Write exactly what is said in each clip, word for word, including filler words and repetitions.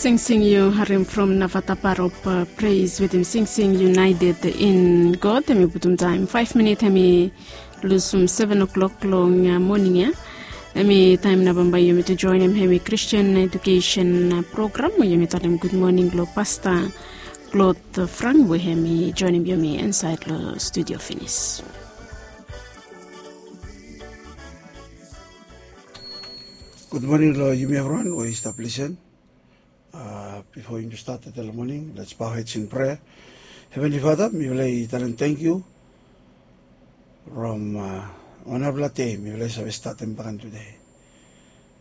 Singsing yu harim from Navatapar of Praise wetem singsing United in God. Hemi putum taem faef minit hemi lusum seven o'clock long moning ya. Hemi taem nao bambae yumi tu joenem hemi Christian Education Program we yumi talem gud moning long Pasta Klot Frank we hemi joenem yumi insaed long studio finis. Gud moning long yumi evriwan we i stap lisen. Bifo yumi stat tede long moning, lets bow heads in prayer. Heavenly Father, mifala i talem tangkiu from wanarapela dei mifala i save statem baken tude.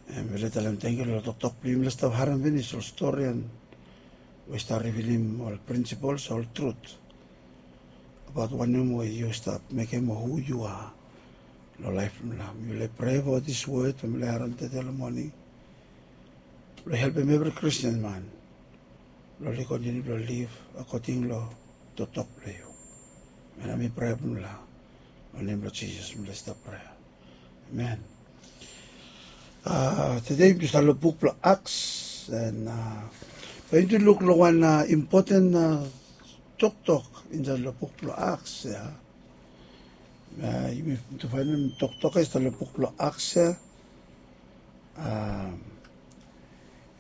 Mifala i talem tangkiu long toktok blong yumi, mifala i stap harem finis ol stori we i stap rivilim ol principles, ol truth abaot wanem we yu stap mekem o hu yu a long laef blong mifala. Mifala i prea fo dis wod we mifala i harem tede long moning blong helpem evri Kristin man blong oli kontiniu blong liv akoding long toktok blong yu. Hemia nao mi prea blong mifala. Long nem blong Jisas mifala i stap prea. Amen. Tede yumi tu stap long buk blong Aks, en bae yumi tu luk long wan impoten toktok insaed long buk blong Aks ya. Yumi tu faenem toktok ya i stap long buk blong Aks ya.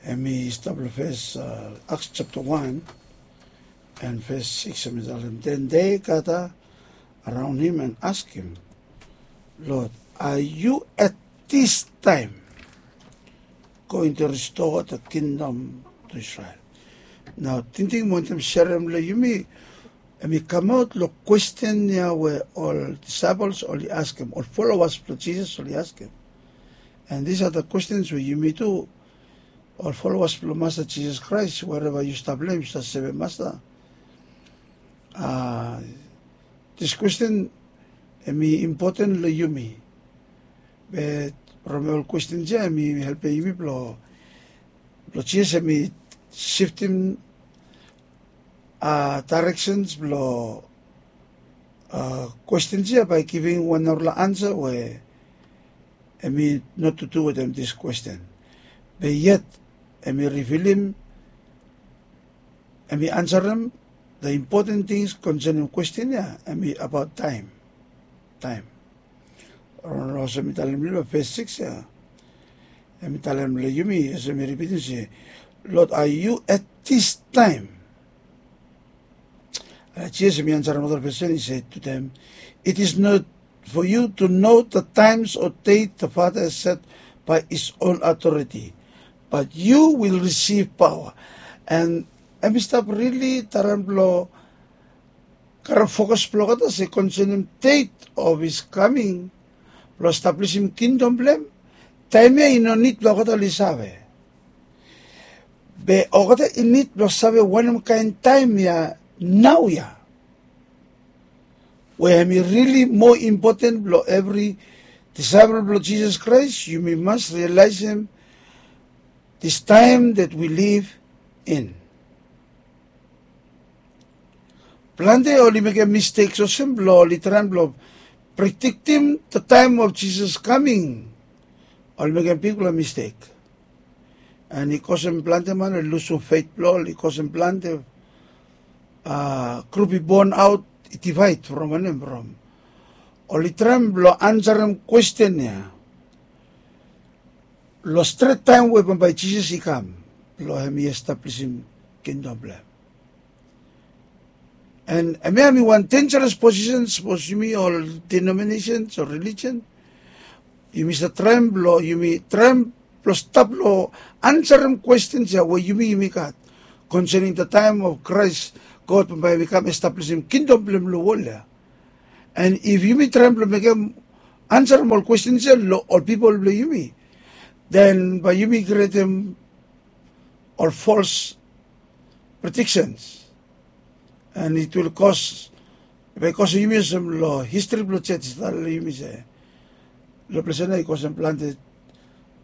Hemi stap long fes, Aks japta wan en fes sikis, hemi talem, den dei gada araon him en askem, Lod, a yu at dis taem going to restore the kingdom to Israel? Nao tingting mi wantem serem long yumi, hemi kamaot long kwesten ya we ol disaepol oli askem, ol folowas blong Jisas oli askem. And these are the questions we yumi tu, ol folowas blong Masta Jisas Kraes, wereva yu stap long hem, yu stap sevem Masta. Dis kwesten hemi impoten long yumi. Be from ol kwestens ya hemi helpem yumi blong, blong Jisas hemi siftim daereksens blong kwestens ya bae givim wan narafala ansa we hemi no tutu wetem dis kwesten. Be yet hemi rivilim, hemi ansarem the important things concerning kwesten ya, hemi abaot taem. Taem. Olsem mi talem long fes sikis ya, hemi talem long yumi, olsem mi ripitim se, Lod, a yu at dis taem? Jisas hemi ansarem olgeta kwestin, i se to dem, it is not for you to know the times or date the Father has set by his own authority, but you will receive power. And hemi stap rili traem blong karem fokas blong olgeta se concerning date of his coming blong establisim kingdom blong hem. Taem ya i no nid blong olgeta oli save. Be olgeta i nid blong save wanem kaen taem ya, nao ya, we hemi rili moa impoten blong evri disaepol blong Jisas Kraes. Yumi mas rialaesem this time that we live in. Plante oli mekem mistek olsem blong oli traem blong prediktim the time of Jesus coming. Oli mekem bigfala mistek. And i kosem plante man oli lusum feit blong oli, i kosem plante grup i bon aot, i divaed from wanem, from oli traem blong ansarem kwesten ya long stret taem we bambae Jisas i kam blong hemi establisim kingdom blong hem. And hemia hemi wan denjaras posisen sapos yumi ol denominasens o relijian yumi save traem blong, yumi traem blong stap long ansarem kwestens ya we yumi yumi gat concerning the time of Christ, God bambae hemi kam establisim kingdom blong hem long wol ya. And if yumi traem blong mekem ansarem ol kwestens ya long ol pipol blong yumi, then bae yumi krietem ol fals prediksens. And it will cause, bae i kosem yumi olsem long histri blong jos i talem long yumi se long ples ya nao i kosem plante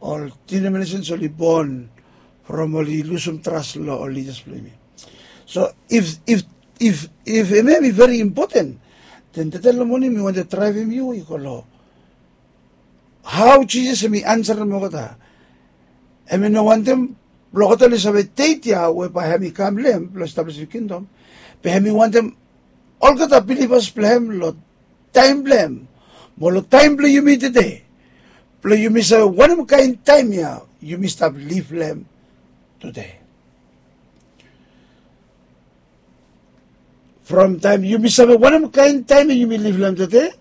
ol denominasens oli bon from oli lusum tras long ol lidas blong yumi. So if, if, if, if hemia hemi veri impoten, then tede long moning mi wantem draevem yu i go long hao Jisas hemi ansarem olgeta. Hemi no wantem Blong olgeta oli save det ya we bae hem i kam long hem blong establisim kingdom, be hem i wantem olgeta bilivas blong hem long taem blong hem mo long taem blong yumi tede, blong yumi save wanem kaen taem ya yumi stap liv long hem tede. From taem yumi save wanem kaen taem ya yumi liv long hem tede,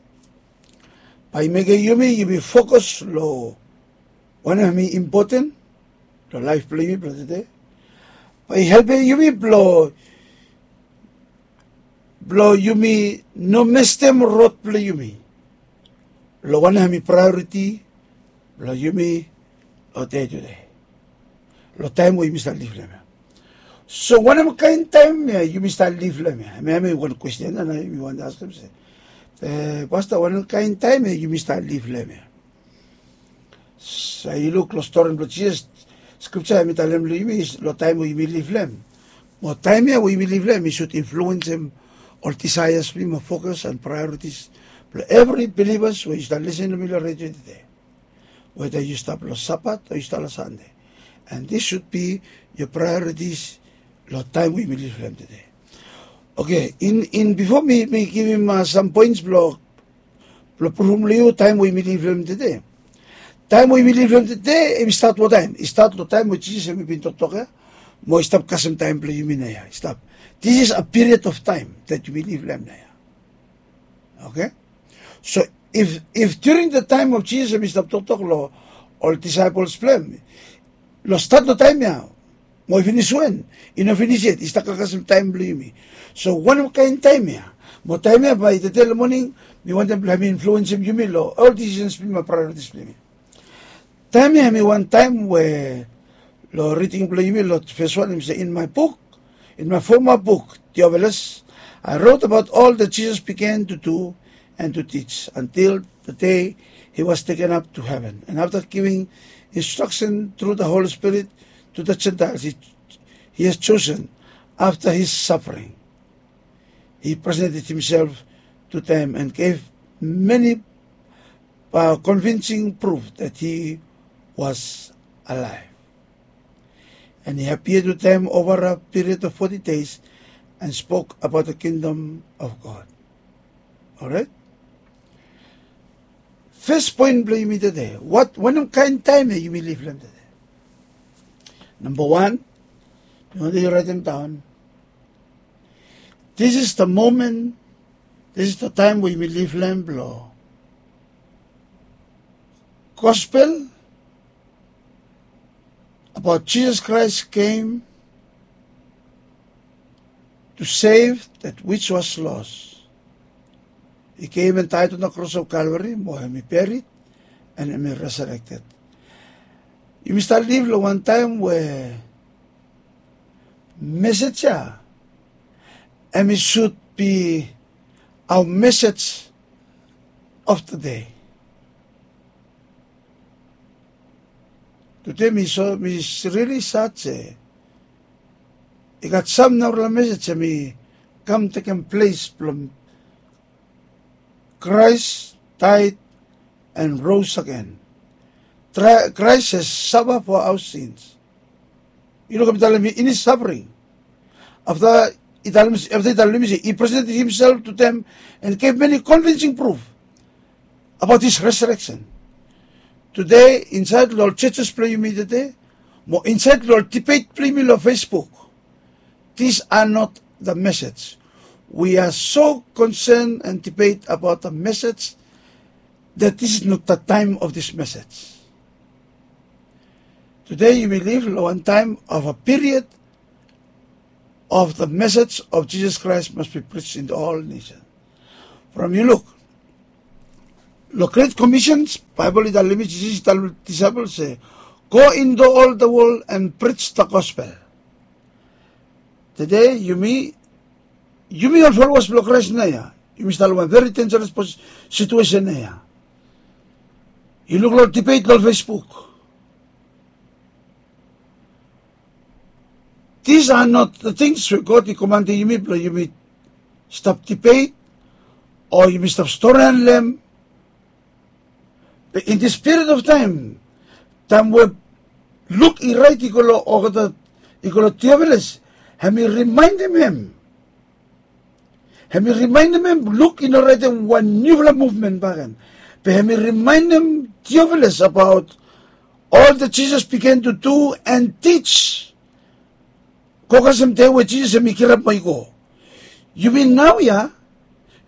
bae i mekem yumi yumi fokus long wanem hem i impoten long laef blong yumi blong tede. Bae i helpem yumi blong blong yumi no mestem rod blong yumi long wanem hem i praeoriti blong yumi long dei tede, long taem we yumi stap liv long hem ya. So wanem kaen taem ya yumi stap liv long hem ya? Hem ya hem i wan kwesten ya nao yumi wantem askem se, e, pasta, wanem kaen taem ya yumi stap liv long hem ya? So yu luk long stori blong Jisas, skripsa hem i talem long yumi long taem we yumi liv long hem. Mo taem ya we yumi liv long hem i sud influensem ol disaeas blong yumi mo fokus and praeoritis blong evri bilivas we yu stap lisin long mi long redio tede. Weda yu stap long Sabat o yu stap long Sande. And this should be your priorities long taem we yumi liv long hem tede. Oke, in, in bifo mi, mi givim, a, sam poens blong blong pruvum long yu taem we yumi liv long hem tede. Taem we yumi liv long hem tede, hem i stat wantaem. I stat long taem we Jisas hem i bin toktok ya, mo i stap kasem taem blong yumi naoia. I stap. This is a period of time that yumi liv long hem naoia. Oke? So if, if during the time of Jisas hem i stap toktok long ol disaepols blong hem, long stat long taem ya mo i finis wen? I no finis yet. I stap kasem taem blong yumi. So wanem kaen taem ya? Mo taem ya bae tede long moning mi wantem blong hem i influensem yumi long ol disisens blong yumi mo praeoritis blong yumi. Taem ya hem i wan taem we long riding blong yumi long fes wan hem i se, in my book, in my former book, Theophilus, I wrote about all that Jesus began to do and to teach until the day he was taken up to heaven. And after giving instruction through the Holy Spirit to the Gentiles he, he has chosen after his suffering, he presented himself to them and gave many, uh, convincing proof that he was alive. And he appeared to them over a period of forty days and spoke about the kingdom of God. Alright? Fes poen blong yumi tede, wat, wanem kaen taem ya yumi liv long hem tede? Namba wan, mi wantem yu raetem daon. This is the moment, this is the time we yumi liv long hem blong gospel about Jesus Christ came to save that which was lost. He came and died on the cross of Calvary, mo hem i buried, and hem i resurrected. Yumi stap liv long wan taem we mesej ya hem i should be our message of the day. Tede mi so, mi rili sad se i gat sam narafala mesej hem i kam tekem ples blong Christ died and rose again. Christ has suffered for our sins. Yu lukim, i talem in his suffering. Afta i talem, afta i talem long yumi se he presented himself to them and gave many convincing proof about his resurrection. Tede insaed long ol churches blong yumi tede, mo insaed long ol debate blong yumi long Facebook, these are not the message. We are so concerned and debate about the message that this is not the time of this message. Tede yumi liv long wan taem of a period of the message of Jesus Christ must be preached in all nations. From yu luk long Great Commission, Baebol i talem, Jisas i talem long disaepol se, go into all the world and preach the gospel. Tede yumi, yumi ol followers blong Christ naoia, yumi stap long wan very dangerous pos-, situation naoia. Yu luk long debate long Facebook. These are not the things we God i komantem yumi blong yumi stap debate o yumi stap storian long hem. But in this period of time, taem we Luk i raet i go long olgeta, i go long Tiofilas, hem i rimaenem hem. Hem i rimaenem hem Luk i no raetem wan niufala muvmen bakegen. Be hem i rimaenem Tiofilas abaot ol that Jisas bigen tu du and tij. Go kasem dei we Jisas hem i kirap mo i go. Yumi naoia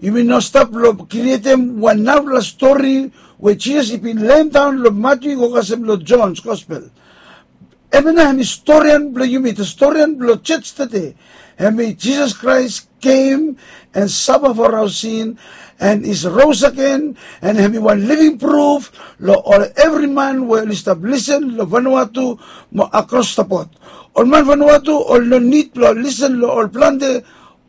yumi no stap long krietem wan narafala stori we Jisas i bin lemdaon long Matiu i go kasem long Jon's Gospel. Hem ya nao hem i storian blong yumi, the storian blong jos tede. Hem i Jisas Kraes came and suffer for our sin and is rose again, and hem i wan living proof long ol evri man we oli stap lisen long Vanuatu mo across the board. Ol man Vanuatu oli no nid blong lisen long ol plante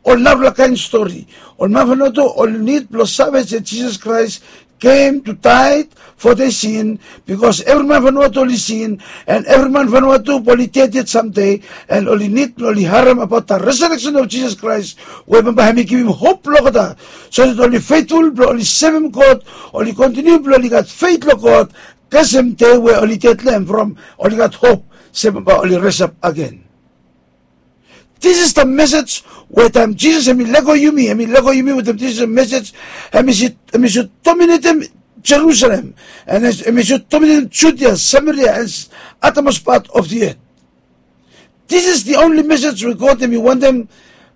ol narafala kaen stori. Ol man Vanuatu oli nid blong save se Jisas Kraes came to die for their sin, because evri man Vanuatu oli sin, and evri man Vanuatu oli ded yet samdei, and oli nid blong oli harem abaot the resurrection of Jisas Kraes, we bambae hem i givim hop long olgeta, so that oli feitful blong oli sevem God, oli kontiniu blong oli gat feit long God, kasem dei we oli ded long hem from oli gat hop se bambae oli resap agen. This is the message we taem Jisas hem i lego yumi, hem i lego yumi wetem this is a message, hem i sud dominatem Jerusalem, and hem i sud dominatem Judia, Samaria, and uttermost part of the earth. This is the only message we God hem i wantem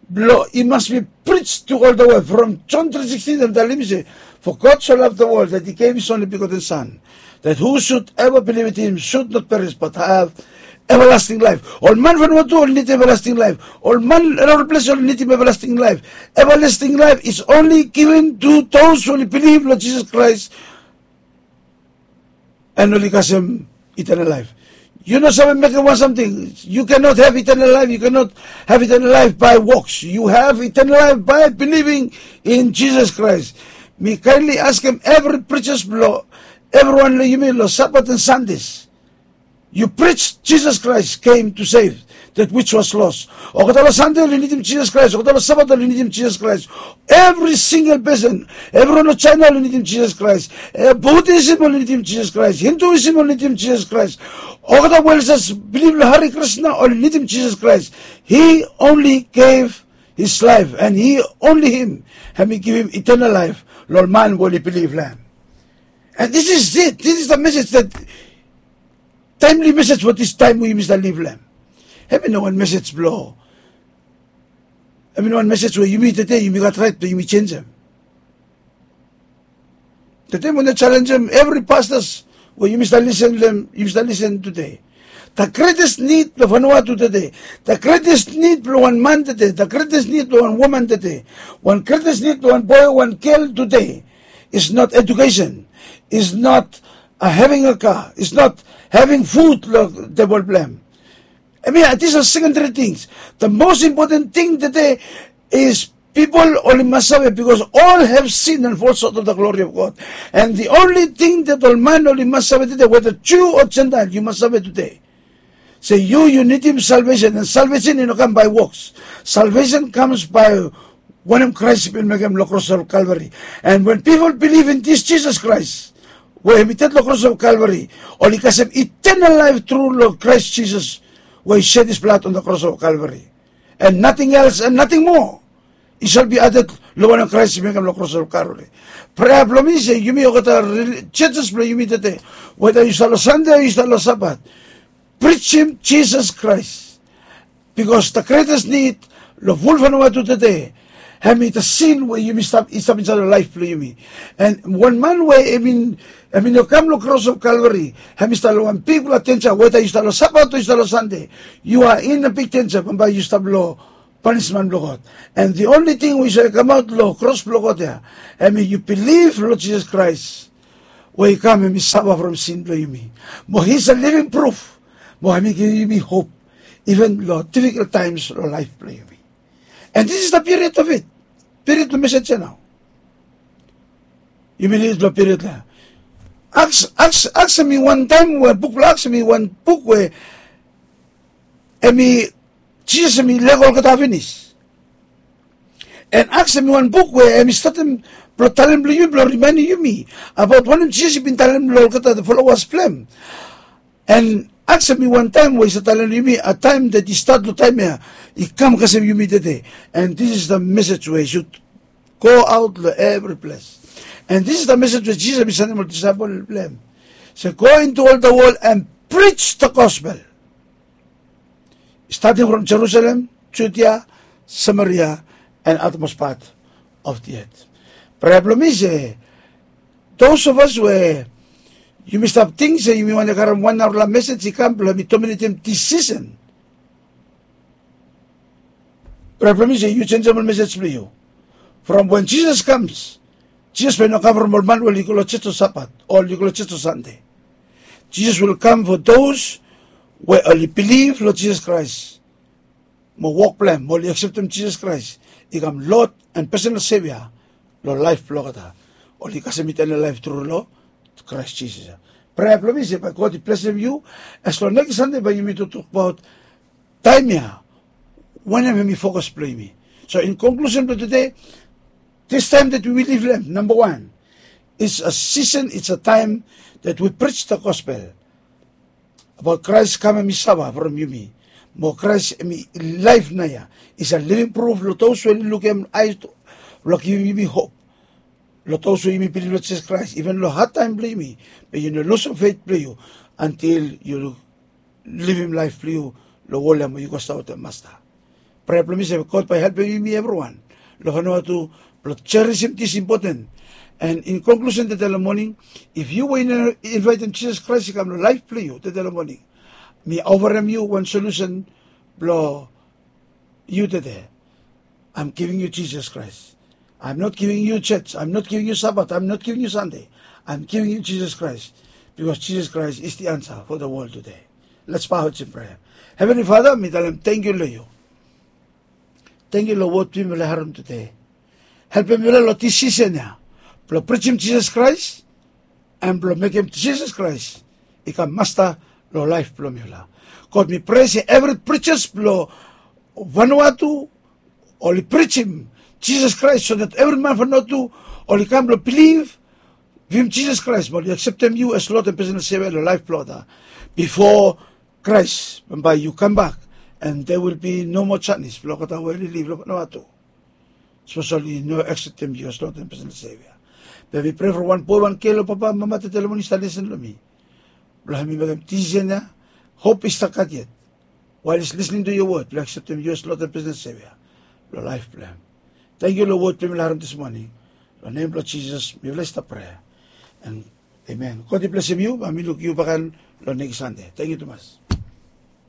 blong i mas bi prij tu ol the world. From John tri sikstin hem talem se, for God so loved the world that he gave his only begotten son, that whosoever believeth in him should not perish but have everlasting life. Ol man Vanuatu oli nidim everlasting life. Ol man long ol ples oli nidim everlasting life. Everlasting life is only given to those oli bilif long Jisas Kraes and oli kasem eternal life. Yu no save mekem wan samting. You cannot have eternal life. You cannot have eternal life by works. You have eternal life by believing in Jesus Christ. Mi kaenli askem evri prijos blong evriwan long yumi long Sabat and Sundays, you preach Jesus Christ came to save that which was lost. Olgeta long Sande oli nidim Jisas Kraes. Olgeta long Sabat oli nidim Jisas Kraes. Evri singel pesen, evriwan long Jaena oli nidim Jisas Kraes. Budisim oli nidim Jisas Kraes. Hinduisim oli nidim Jisas Kraes. Olgeta we oli jes bilif long Hare Krishna oli nidim Jisas Kraes. He only gave his life and he only him hem i givim eternal life long ol man we oli bilif long hem. And this is it. This is the message that taemli mesej blong dis taem we yumi stap liv long hem. Hem i no wan mesej blong, hem i no wan mesej we yumi tede yumi gat raet blong yumi jenjem. Tede mi wantem jalenjem evri pastas we yumi stap lisen long hem, yumi stap lisen tede. The greatest need blong Vanuatu tede, the greatest need blong wan man tede, the greatest need blong wan woman tede, wan greatest need blong wan boe, wan gel tede is not education, is not having a car, is not having food long tebol blong hem. Hemia, these are secondary things. The most important thing tede is pipol oli mas save, because all have sinned and fall short of the glory of God. And the only thing that ol man oli mas save tede, whether Jew or Gentile, yu mas save tede se yu, yu nidim salvation, and salvation i no kam by works. Salvation comes by wanem Kraes i bin mekem long kros of Calvary. And when people believe in this Jesus Christ we hem i ded long kros of Calvary, oli kasem eternal life tru long Kraes Jisas we i shed his blood on the cross of Calvary. And nothing else and nothing more i shall be added long wanem Kraes i mekem long kros of Calvary. Prea blong mi se yumi olgeta churches blong yumi tede, whether yu stap long Sande o yu stap long Sabat, prijim Jisas Kraes. Because the greatest need long ful Vanuatu tede, hem i the sin we yumi stap, i stap insaed long laef blong yumi. And wan man we hem i, hem i no kam long kros of Calvary, hem i stap long wan bigfala denja, whether yu stap long Sabat o yu stap long Sande, you are in a big danger. Bambae yu stap long panisman blong God. And the only thing we save kamaot long kros blong God ya, hem i yu bilif long Jisas Kraes we i kam hem i sava from sin blong yumi. Mo he is a living proof. Mo hem i givim yumi hop even long difficult times long laef blong yumi. And this is the period of it. Period blong mesej ya nao. Yumi lid long period ya. Aks, Aks, Aks hem i wan taem we buk blong Aks hem i wan buk we hem i, Jisas hem i lego olgeta finis. And Aks hem i wan buk we hem i statem blong talem blong yumi, blong rimaenem yumi abaot wanem Jisas i bin talem long olgeta the followers blong hem. And Aksem mi wan taem we i save talem long yumi, a taem dat i stat long taem ya i kam kasem yumi tede. And this is the message we i should go out long evri ples. And this is the message we Jisas i sanem long disaepol blong hem, se go into all the world and preach the gospel, starting from Jerusalem, Judea, Samaria, and utmost part of the earth. Prea blong mi se those of us we yumi stap ting se yumi wantem karem wan narafala mesej i kam blong hemi dominetem disisen. Prea blong mi se yu jenisim ol mesej blong yu. From wen Jisas kam, Jisas bae i no kam from ol man we oli go long jos long Sabat o oli go long jos long Sande. Jisas will kam for those we oli bilif long Jisas Kraes mo wok blong hem, oli akseptem Jisas Kraes i kam Lord and personal Savior long laef blong olgeta. Oli kasem eternal laef tru long Kraes Jisas. Prea blong mi se bae God i blesem yu as long nekis Sande bae yumi toktok abaot taem ya wanem hemi fokas blong yumi. So in konklusen blong tede, this time that we live long hem, number one, it's a season, it's a time that we preach the gospel about Christ kam hemi safa from yumi. Mo Christ hemi laef naoia is a living proof long those we oli lukim hem, ae blong givim yumi hop. Long those we yumi bilif long Jisas Kraes, even long had taem blong yumi, be yu no lusum fet blong yu until yu livim laef blong yu long wol ya mo yu go stap wetem Masta. Prea blong mi se God bae i helpem yumi evriwan long Vanuatu blong jerisim this important. And in konklusen tede long moning, if yu we yu no invaetem Jisas Kraes i kam long laef blong yu tede long moning, mi ofarem yu wan solusen blong yu tede. I'm giving you Jesus Christ. I'm not giving you church. I'm not giving you Sabbath. I'm not giving you Sunday. I'm giving you Jesus Christ, because Jesus Christ is the answer for the world today. Let's bow heads in prayer. Heavenly Father, mi talem tangkiu long yu. Tangkiu long wod blong yumi oli harem tede. Helpem mifala long this season ya blong prijim Jisas Kraes and blong mekem Jisas Kraes i kam Masta long laef blong mifala. God, mi prea se evri preachers blong Vanuatu oli prijim Jisas Kraes so that evri man Vanuatu oli kam blong bilif, givim Jisas Kraes, mo oli akseptem yu as Lord and Personal Savior long laef blong olgeta bifo Kraes bambae yu kambak, and there will be no more janis blong olgeta we oli liv long Vanuatu, sapos oli no akseptem yu as Lord and Personal Savior. Be mi prea from wan boe, wan gel o papa, mama tede long moning i stap lisin long mi, blong hemi mekem disisen ya. Hop i stap gat yet while he's listening to your word, blong akseptem yu as Lord and Personal Savior long laef blong hem. Tangkiu long wod blong yumi oli harem this morning. Long nem blong Jisas mifala i stap prea. And amen. God i blesem yu. Bae mi luk yu bakegen long nekis Sande. Tangkiu tumas.